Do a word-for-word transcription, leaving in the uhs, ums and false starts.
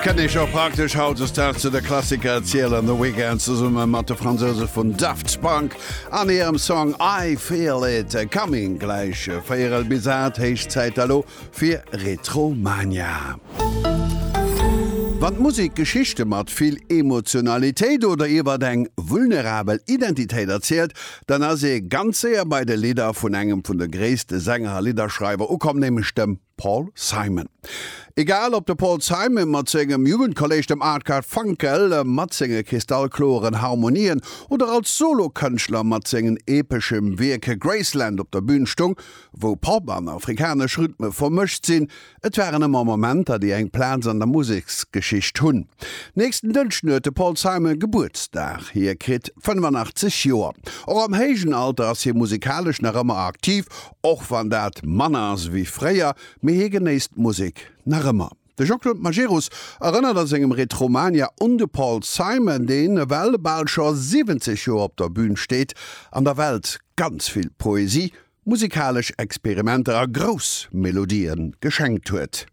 Kënnt ee scho praktesch hautdesdaags zu de Klassiker zielen, The Weeknd zesumme mat de Fransouse vun Daft Punk an hirem Song I Feel It Coming. Gläich véierel bis aacht, héich Zäit elo fir Retromania. Wann d'Musek Geschichte mat vill Emotionalitéit oder iwwert eng vulnerabel Identitéit erzielt, dann ass ee ganz séier bei de Lidder vun engem vun de gréisste Sänger a Lidderschreiwer ukomm, nämlech dem Paul Simon. Egal ob de Paul Simon mat sengem Jugendkolleg dem Art Garfunkel mat senge kristallkloren Harmonien oder als Solokënschtler mat sengen epeschem Wierk Graceland op der Bün stung, wou Pop an afrikanesch Rhythme vermëscht sinn, et waren ëmmer Momenter, déi eng Plaz an der Museksgeschicht hunn. Nächsten Dënschden huet de Paul Simon Gebuertsdag, hie kritt fënnefanaachtzeg Joer. Och am héijen Alter ass hie musikalesch nach ëmmer aktiv, och wann dat manner ass ewéi fréier, mee hie genéisst d'Musek nach ëmmer. De Jean-Claude Majerus erënnert a sengem Retromania un de Paul Simon, deen ewell bal scho siwwenzeg Joer op der Bün steet an der Welt ganz vill Poesie, musikalesch Experimenter a grouss Melodië geschenkt huet.